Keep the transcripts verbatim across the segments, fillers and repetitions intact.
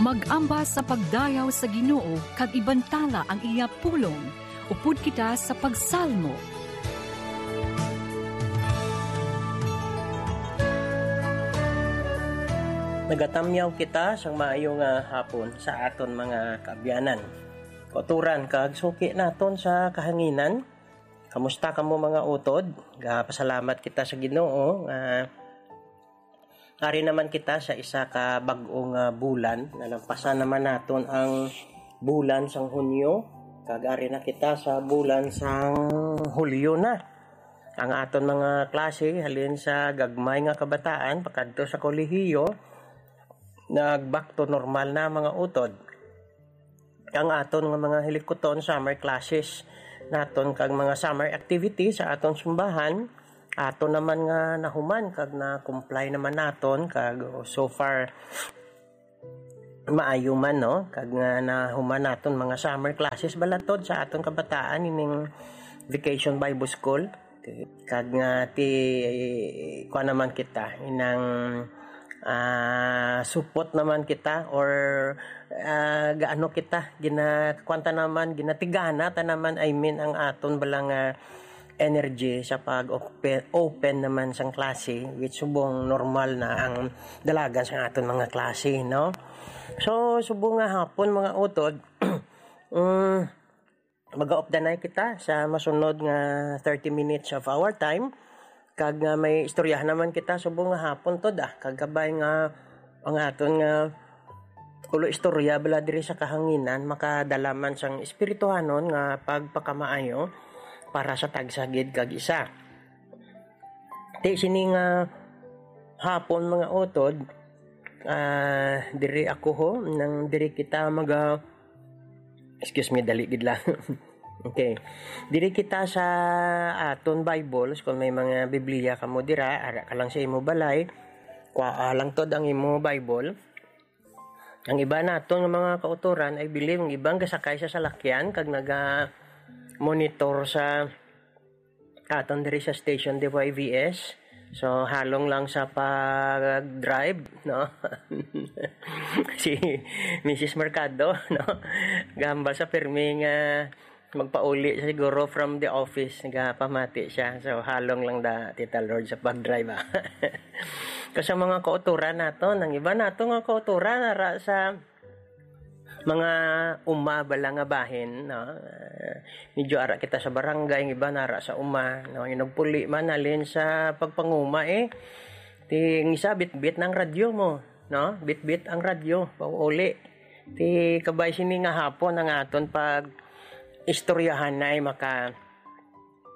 Mag-amba sa pagdayaw sa Ginoo kag ibantala ang iya pulong. Upod kita sa pagsalmo. Nagatamyaw kita sang maayo nga hapon sa aton mga kaabyanan, kautoran, kag suki naton sa kahanginan. Kamusta kamo, mga utod? Gapasalamat kita sa Ginoo nga ari naman kita sa isa ka bag-o nga bulan. Nalampasan naman naton ang bulan sang Hunyo, kag ari na kita sa bulan sang Hulyo na. Ang aton mga klase, halin sa gagmay nga kabataan pakadto sa kolehiyo, nag-back to normal na, mga utod. Ang aton nga mga hilikuton, summer classes naton kag mga summer activities sa aton simbahan, aton naman nga nahuman kag na-comply naman naton, kag so far maayo man, no? Kag nga nahuman naton mga summer classes balatod sa aton kabataan ining Vacation Bible School. Kag nga ti, kuan naman kita, inang, ah, supot naman kita, or, ah, gaano kita, gina-, kuan ta naman, ginatigana ta naman, I mean, ang aton bala nga energy sa pag-open, open naman sang klase, which subong normal na ang dalagan sa aton mga klase, no? So, subong nga hapon, mga utod, mm, mag-updanay kita sa masunod nga thirty minutes of our time. Kag nga may istoryahan naman kita subong nga hapon to da. Kag kabay nga ang aton nga ulo istorya bala diri sa kahanginan makadala man sang espirituhanon nga pagpakamaayo para sa tagsa gid kag isa. Ti sini nga hapon, mga utod, ah, diri ako ho, nang diri kita maga-, excuse me, dali gid lang. Okay. Diri kita sa aton Bibles, kung may mga Biblia kamo dira, ara ka lang sa imo balay, kuhaa lang tod ang imo Bible. Ang iba naton nga mga kautoran, I believe, ang iba gasakay sa salakyan kag naga-monitor sa aton diri sa station D Y V S. So, halong lang sa pag-drive, no? Si Missus Mercado, no? Gahambal sa pirmi nga magpauli siya siguro from the office, nagapamati siya. So, halong lang da, Tita Lord, sa pag-drive, ah. Kasi ang mga kauturan nato, ang iba nato nga kauturan, ara sa mga uma bala nga bahin, no? Ah, medyo ara kita sa barangay, ang iba nara sa uma, no? Yung nagpuli man, halin sa pagpanguma, eh. Ti, ang isa, bitbit ng radyo mo, no? Bitbit ang radyo, pauuli. Ti, kabay sini nga hapon ang aton pag istoryahan na ay maka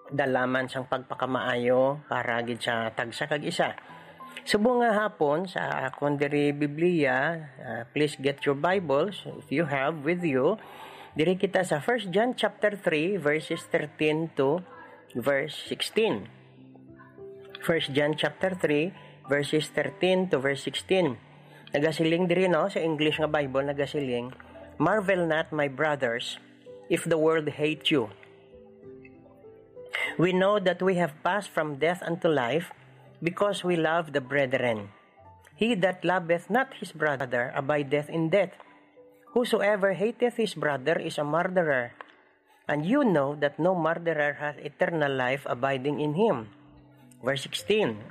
dala man sang pagpakamaayo para gid sa tagsa kag isa. Subong nga hapon sa akon diri Biblia, ah, please get your Bibles if you have with you. Diri kita sa First John chapter three, verses thirteen to verse sixteen. First John chapter three, verses thirteen to verse sixteen. Nagasiling diri, no, sa English nga Bible, nagasiling, "Marvel not, my brothers, if the world hate you. We know that we have passed from death unto life because we love the brethren. He that loveth not his brother abideth in death. Whosoever hateth his brother is a murderer. And you know that no murderer hath eternal life abiding in him." Verse sixteen,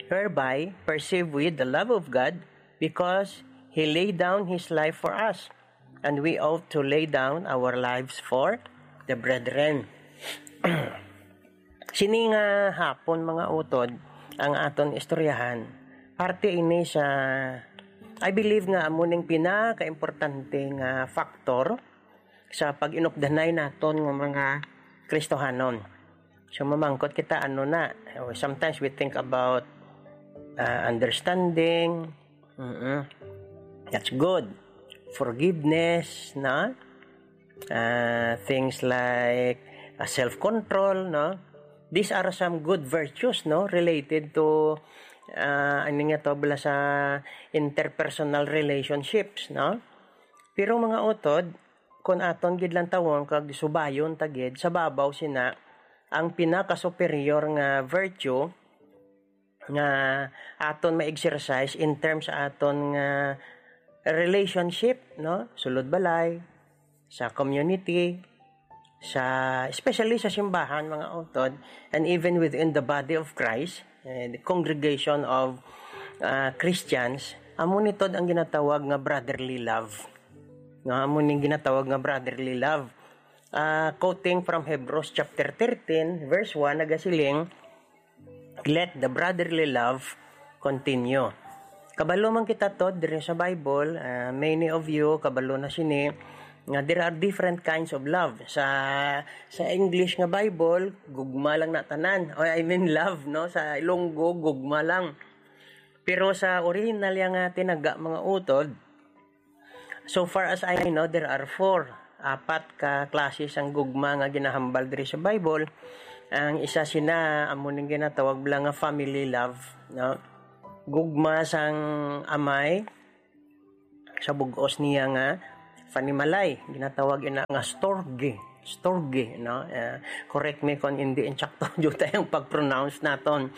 "Hereby perceive we the love of God, because he laid down his life for us, and we ought to lay down our lives for the brethren." Sini nga hapon, mga utod, ang aton istoryahan, parte ini sa, I believe nga amo ning pinakaimportante nga factor sa pag-inupdanay naton nga mga Kristohanon. So, mamangkot kita, ano na, sometimes we think about, ah, understanding, mm-mm, that's good. Forgiveness, no? Ah, things like, ah, self-control, no? These are some good virtues, no, related to, ah, ano nga to, bala sa interpersonal relationships, no? Pero, mga utod, kung aton gid lantawon kag subayon ta gid, sa babaw sina ang pinaka-superior nga virtue nga aton ma-exercise in terms sa aton nga relationship, no? Sulod balay, sa community, sa, especially sa simbahan, mga utod, and even within the body of Christ, eh, the congregation of, ah, Christians, amo ni tod ang ginatawag nga brotherly love. No, amo ni ginatawag nga brotherly love. Ah, quoting from Hebrews chapter thirteen, verse one, nagasiling, "Let the brotherly love continue." Kabalo man kita to diri sa Bible, ah, many of you kabalo na sini nga there are different kinds of love. Sa, sa English nga Bible, gugma lang na tanan. O, I mean, love, no? Sa Ilonggo, gugma lang. Pero sa original yang, ah, tinaga, mga utod, so far as I know, there are four. Apat ka klase sang gugma nga ginahambal diri sa Bible. Ang isa sina, amo ning ginatawag bala nga family love, no? Gugma sang amay sa bug-os niya nga panimalay, ginatawag ina nga storge, storge, no? Eh, correct me kung hindi insakto jud ang pag-pronounce naton.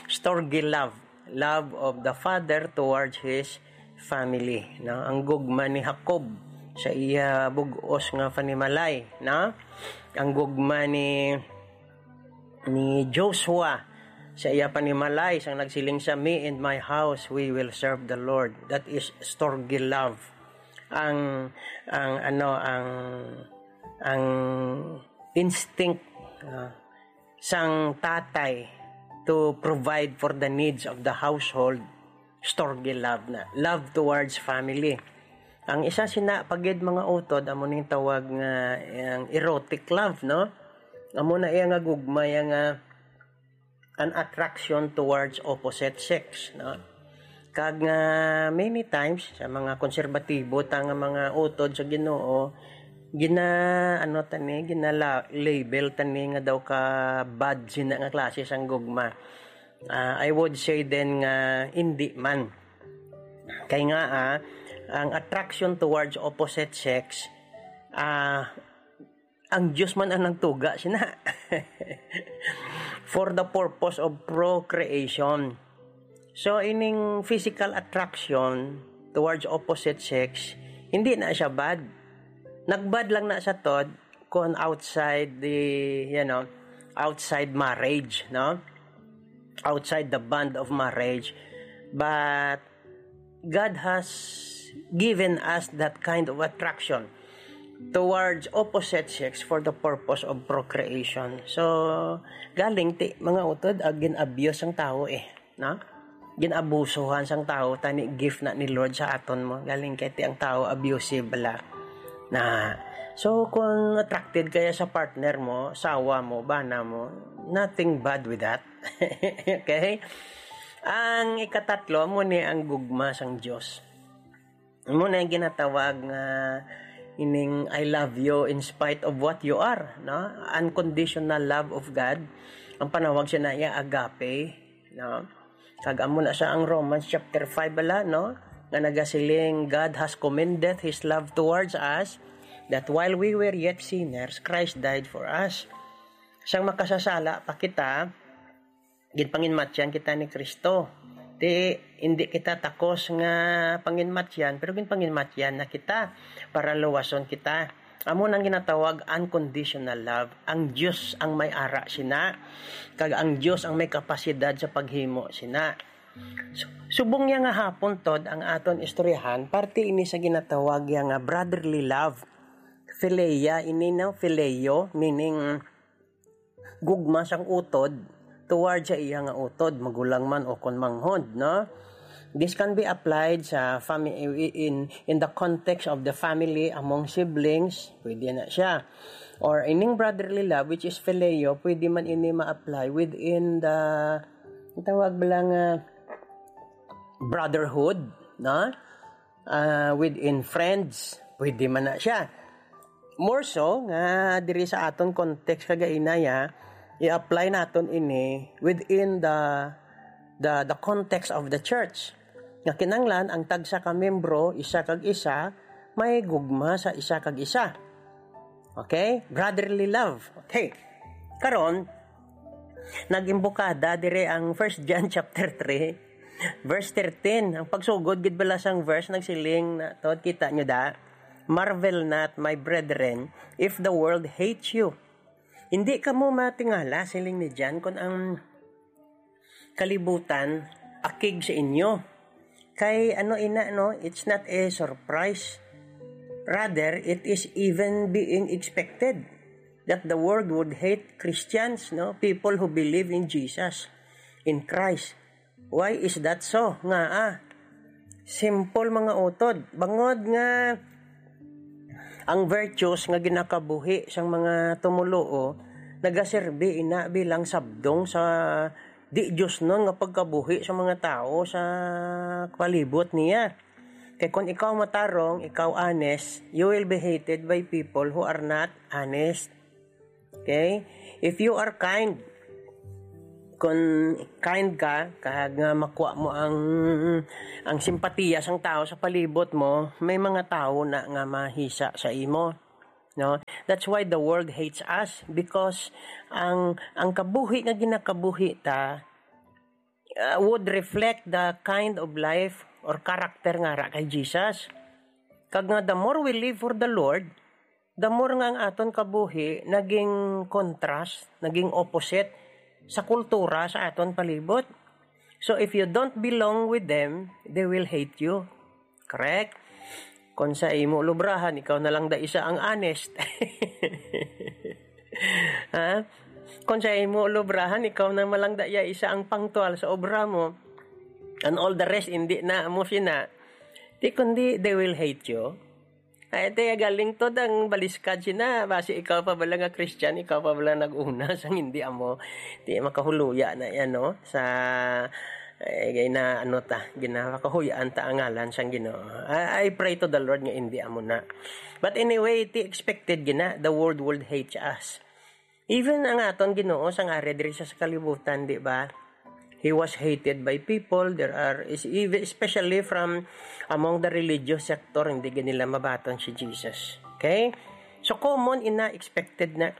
Storge love, love of the father towards his family, no? Ang gugma ni Jacob sa iya bug-os nga panimalay, no? Ang gugma ni, ni Joshua sa iya panimalay sang nagsiling siya, "Me and my house, we will serve the Lord." That is storge love. Ang, ang ano, ang, ang instinct, ah, sang tatay to provide for the needs of the household, storge love na. Love towards family. Ang isa sina pa gid, mga utod, amo ning tawag nga ang erotic love, no? Amo na iya nga gugma, iya nga an attraction towards opposite sex, no? Kag nga many times sa mga konserbatibo ta nga mga utod sa Ginoo, gina, ano tani, ginala-, label tani nga daw ka bad sina nga klase sang gugma. Ah, I would say then nga hindi man. Kay nga, ah, ang attraction towards opposite sex, ah, ang Dios man ang nagtuga sina. For the purpose of procreation. So, ining physical attraction towards opposite sex, hindi na siya bad. Nagbad lang na sa tod kung outside the, you know, outside marriage, no? Outside the bond of marriage. But God has given us that kind of attraction towards opposite sex for the purpose of procreation. So, galing ti, mga utod, ah, gin-abuse ang tao eh, no? Gin-abusuhan sang tao, tani gift na ni Lord sa aton mo. Galing kay ti ang tao abusive bala. Na, so, kung attracted kaya sa partner mo, sawa mo, bana mo, nothing bad with that. Okay? Ang ikatatlo, mo ni ang gugma sang Dios. Mo na yung ginatawag nga ining "I love you in spite of what you are," no? Unconditional love of God. Ang panawag siya na iya agape, no? Kag amo na sa ang Romans chapter five bala, no? Nga nagasiling, "God has commended His love towards us, that while we were yet sinners, Christ died for us." Sang makasasala pa kita, ginpanginmatyan kita ni Kristo. Ti, hindi kita takos nga panginmatyan, pero ginpanginmatyan na kita para luwason kita. Amo nang ginatawag unconditional love. Ang Dios ang may ara sina, kag ang Dios ang may kapasidad sa paghimo sina. Su-, subong niya nga hapon tod ang aton istoryahan, parte ini sa ginatawag ya nga brotherly love. Philia ini, no? Phileo, meaning gugma sang utod toward sa iya nga utod, magulang man o kon manghod, no? This can be applied sa fami-, in, in the context of the family among siblings, pwede na siya. Or ining brotherly love, which is phileo, pwede man ini ma-apply within the, ang tawag ba lang, ah, brotherhood, no? Ah, within friends, pwede man na siya. More so, nga diri sa aton context kagaina ya, i-apply naton ini within the, the, the context of the church. Nga kinanglan ang tagsa ka membro, isa kag isa, may gugma sa isa kag isa. Okay? Brotherly love. Okay. Karon, nag-imbukada dire ang First John chapter three. Verse thirteen, ang pagsugod gid bala sang verse nagsiling na to, kita nyo da, "Marvel not, my brethren, if the world hates you." Hindi kamo matingala, siling ni John, kung ang kalibutan akig sa inyo. Kay ano ina, no? It's not a surprise. Rather, it is even being expected that the world would hate Christians, no? People who believe in Jesus, in Christ. Why is that so? Nga, ah, simple, mga utod. Bangod nga ang virtues nga ginakabuhi sang mga tumuluo nagaserbi ina bilang sabdong sa di diosnon nga pagkabuhi sa mga tawo sa palibot niya. Kay kon ikaw matarong, ikaw honest, you will be hated by people who are not honest. Okay? If you are kind, kung kind ka, kag nga makuha mo ang, ang simpatiya sang tawo sa palibot mo, may mga tawo na nga mahisa sa imo. No? That's why the world hates us, because ang, ang kabuhi nga ginakabuhi ta, uh, would reflect the kind of life or character nga ara kay Jesus. Kag nga, the more we live for the Lord, the more nga ang aton kabuhi naging contrast, naging opposite sa kultura sa aton palibot. So, if you don't belong with them, they will hate you. Correct? Kung sa imo lubrahan, ikaw na lang da isa ang honest. Ha? Kung sa imo lubrahan, ikaw na lang da ya isa ang pangtual sa obra mo. And all the rest, hindi na mo sina. Di kundi, they will hate you. Ay, te, galing to dang baliskad sina. Basi ikaw pa bala nga Christian, ikaw pa bala nag-una sang hindi amo. Di makahuluya na yan, no? Sa, eh, gay na, ano ta, ginapakahuyaan ta ang ngalan sang Ginoo. I, I pray to the Lord nga hindi amo na. But anyway, ti expected gina, the world would hate us. Even ang aton Ginoo sang ari diri sa, sa kalibutan, di ba? He was hated by people. There are, is, even, especially from among the religious sector, hindi gid nila mabaton si Jesus. Okay? So, common ina, expected na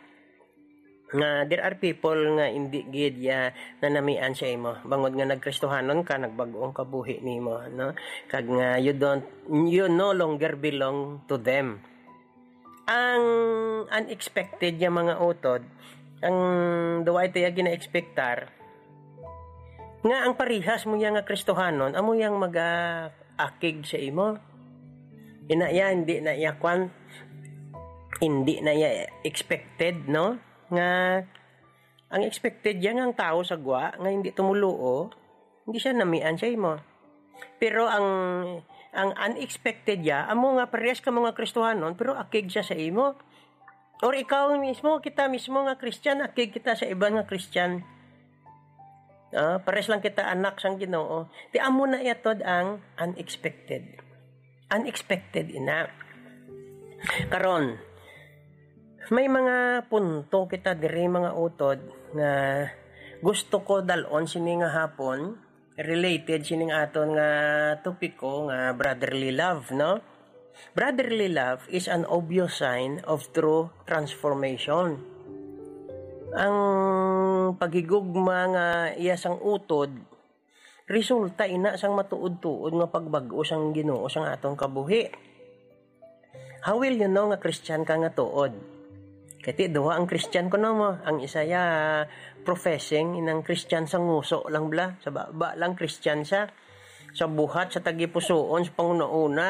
nga there are people nga hindi gid ya nanamian sa imo. Bangod nga nagkristohanon ka, nagbag-ong kabuhi nimo, no? Kag nga you don't, you no longer belong to them. Ang unexpected nga mga utod, ang duwa ito ya gina-expectar, nga ang parihas mo ya nga Kristohanon, amo yang mag-akig sa imo. Ina ya, hindi na ya kwan, hindi na ya expected, no? Nga, ang expected ya nga ang tao sa gwa, nga hindi tumuluo, hindi siya namian sa imo. Pero ang, ang unexpected ya, amo nga parehas ka mga Kristohanon, pero akig siya sa imo. Or ikaw mismo, kita mismo nga Christian, akig kita sa iban nga Christian. Ah, pares lang kita anak sang Ginoo. Ti amo na yatod ang unexpected. Unexpected ina. Karon, may mga punto kita diri, mga utod, nga gusto ko dal-on sini nga hapon, related sining aton nga topiko nga brotherly love, no? Brotherly love is an obvious sign of true transformation. Ang paghigugma nga iya sang utod, resulta ina sang matuod-tuod nga pagbag-o sang Ginoo sang aton kabuhi. How will you know nga Christian ka nga tuod? Kay ti duha ang Christian kuno mo. Ang isa ya professing inang Christian sa nguso lang bala, sa baba lang Christian siya. Sa buhat, sa tagipusoon, sa panguna-una,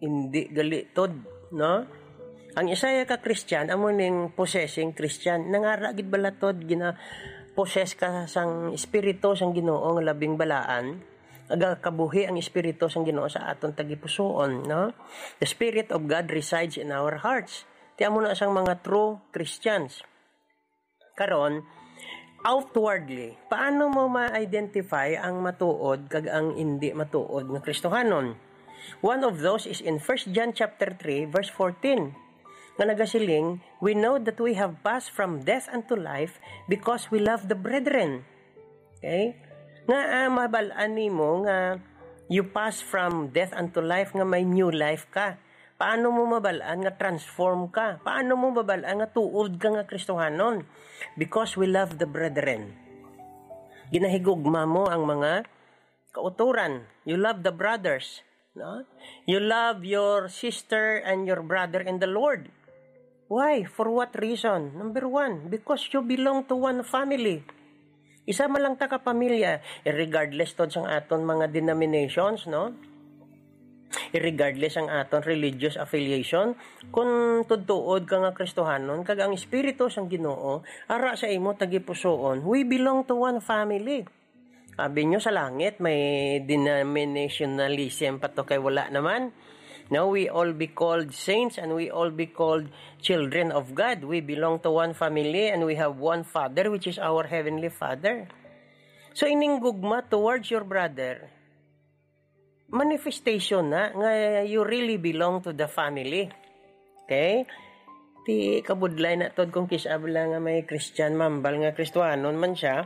hindi gali tod, no? Ang isa ya ka Christian, amo ning possessing Christian. Nangara gid bala tod, gina-possess ka sang espiritu sang Ginoo nga labing balaan. Nagakabuhi ang espiritu sang Ginoo sa aton tagipusoon, no? The Spirit of God resides in our hearts. Ti amo na sang mga true Christians. Karon, outwardly, paano mo ma-identify ang matuod kag ang indi matuod nga Kristohanon? One of those is in First John chapter three, verse fourteen, nga nagasiling, "We know that we have passed from death unto life because we love the brethren." Okay? Nga, ah, mabal-an nimo nga you pass from death unto life, nga may new life ka. Paano mo mabal-an nga transform ka? Paano mo mabal-an nga tuod ka nga Kristohanon? Because we love the brethren. Ginahigugma mo ang mga Kauturan, you love the brothers, no? You love your sister and your brother in the Lord. Why? For what reason? Number one, because you belong to one family. Isa man lang ta ka pamilya, regardless tod sang aton mga denominations, no? Regardless ang aton religious affiliation, kung tudtuod ka nga Kristohanon, kag ang Espiritu sang Ginoo ara sa imo tagipusoon, we belong to one family. Abi nyo sa langit, may denominationalism pa to kay wala naman. No, we all be called saints and we all be called children of God. We belong to one family and we have one Father, which is our Heavenly Father. So, ining gugma towards your brother, manifestation na nga you really belong to the family. Okay? Ti kabudlay na tod kung kis-a bala nga may Christian mambal nga Kristohanon man siya.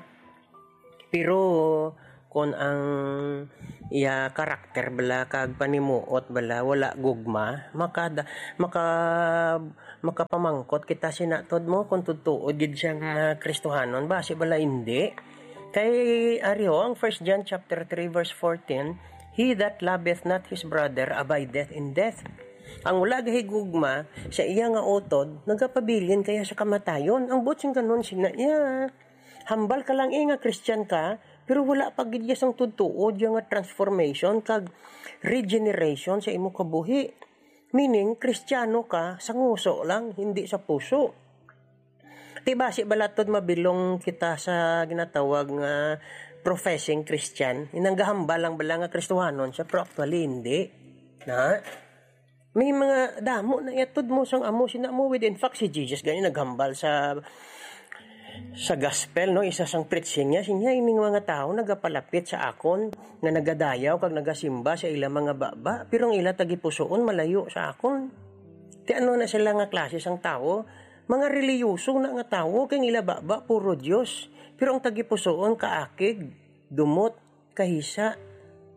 Pero kung ang iya karakter bala kag panimuot bala wala gugma, makada, maka, makapamangkot kita sina tod mo kung tutuod gid siya nga Kristohanon, basi bala hindi. Kay ari ho ang First John chapter three verse fourteen, "He that loveth not his brother abideth in death." Ang wala gahigugma sa iya nga utod, nagapabilin kaya sa kamatayon. Ang buot sing kanon sina iya. Hambal ka lang, eh, nga Christian ka, pero wala pa gid iya sang tutuod iya nga transformation kag regeneration sa imo kabuhi. Meaning, Kristiyano ka sa nguso lang, hindi sa puso. Ti basi bala tod mabilong kita sa ginatawag nga professing Christian? Inang gahambal lang bala nga Kristohanon siya, pero actually hindi. Na? May mga damo na iya tod mo sang amo sina mo with. In fact, si Jesus gani naghambal sa sa gospel, no, isa sang preaching niya, siya, "Ining mga tawo nagapalapit sa akon nga nagadayaw kag nagasimba sa ila mga baba, pero ang ila tagipusoon malayo sa akon." Ti ano na sila nga klase sang tawo? Mga reliyoso na nga tawo, kay ang ila baba puro Dios, pero ang tagipusoon kaakig, dumot, kahisa,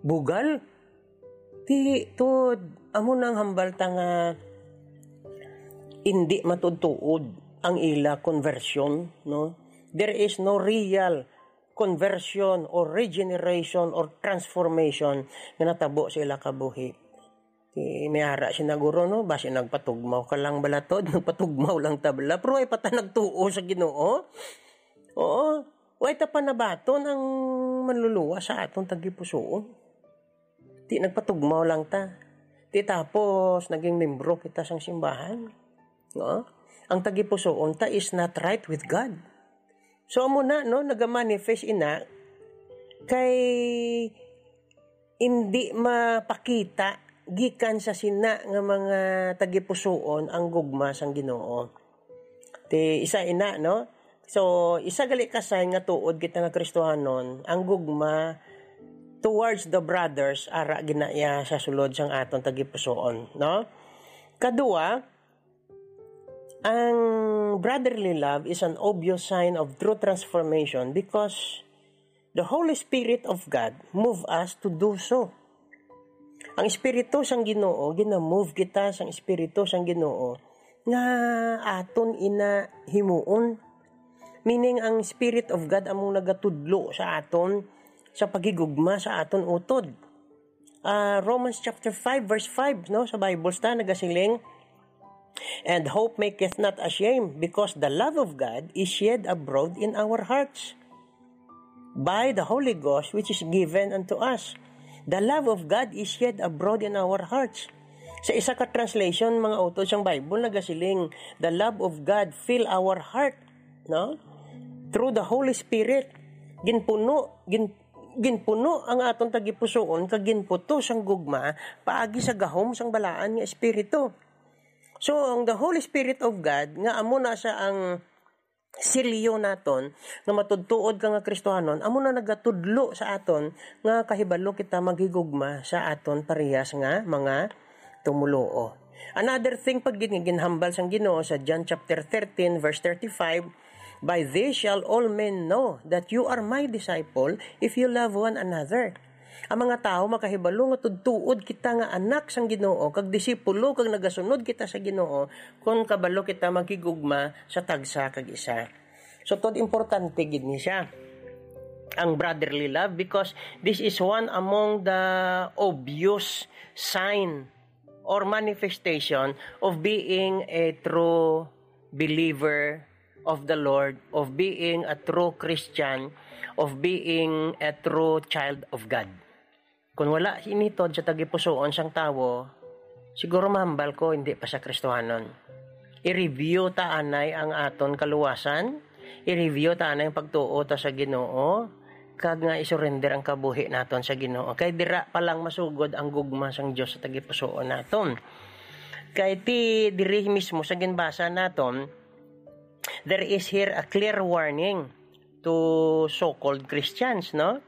bugal. Ti tod, amo na ang hambal ta nga indi matudtuod ang ila conversion, no? There is no real conversion or regeneration or transformation nga natabo sa ila kabuhi. Ti may ara sina guro, no? Basi nagpatugmaw ka lang bala tod, nagpatugmaw lang ta bala. Pero ay pa ta nagtuo sa Ginoo. Oo. Way ta pa nabaton ang manluluwas sa aton tagipusoon. Ti nagpatugmaw lang ta. Ti tapos naging membro kita sang simbahan. No? Ang tagipusoon ta is not right with God. So amo na, no, nagamanifest ina kay indi mapakita gikan sa sina nga mga tagipusoon ang gugma sang Ginoo. Ti isa ina, no? So, isa gali ka sign nga tuod kita nga Kristohanon, ang gugma towards the brothers, ara gina iya sa sulod sang aton tagipusoon, no? Kadua, ang brotherly love is an obvious sign of true transformation because the Holy Spirit of God move us to do so. Ang Espiritu sang Ginoo, gina-move kita sang Espiritu sang Ginoo nga aton ina himuon. Meaning, ang Spirit of God among nagatudlo sa aton sa paghigugma sa aton utod. Ah, Romans chapter five, verse five, no, sa Bible ta nagasiling, "And hope maketh not ashamed, because the love of God is shed abroad in our hearts by the Holy Ghost, which is given unto us." The love of God is shed abroad in our hearts. Sa isa ka translation, mga utod sang Bible, nagasiling, "The love of God fill our heart," no? Through the Holy Spirit, ginpuno, gin-, ginpuno ang aton tagipusoon kag ginputos ang gugma paagi sa gahom sang balaan nga Espiritu. So, ang the Holy Spirit of God, nga amo na siya ang silyo naton, nga matudtuod ka nga Kristohanon, amo na nagatudlo sa aton nga kahibalo kita maghigugma sa aton parehas nga mga tumoluo. Another thing pa gid nga ginhambal sang Ginoo sa John chapter thirteen, verse thirty-five, "By this shall all men know that you are my disciple, if you love one another." Ang mga tawo makahibalo nga tudtuod kita nga anak sang Ginoo, kag disipulo, kag nagasunod kita sa Ginoo, kon kabalo kita maghigugma sa tagsa kag isa. So, tod importante gid ni siya. ang brotherly love, because this is one among the obvious sign or manifestation of being a true believer of the Lord, of being a true Christian, of being a true child of God. Kung wala initod sa tagipusoon sang tawo, siguro mahambal ko hindi pa sa Kristohanon. I-review ta anay ang aton kaluwasan, i-review ta anay ang pagtuo ta sa Ginoo, kag nga isurrender ang kabuhi naton sa Ginoo. Kay dira pa lang masugod ang gugma sang Dios sa tagipusoon naton. Kay ti diri mismo sa ginbasa naton, there is here a clear warning to so-called Christians, no?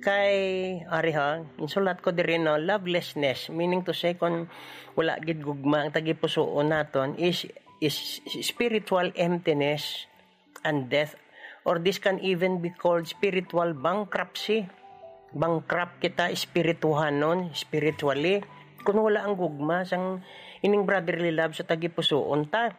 Kay, ari ha, insulat ko diri, no, lovelessness, meaning to say, kung wala gid gugma ang tagipusoon naton, is, is spiritual emptiness and death, or this can even be called spiritual bankruptcy. Bankrupt kita espirituhanon, spiritually, kung wala ang gugma sang ining brotherly love sa tagipusoon ta.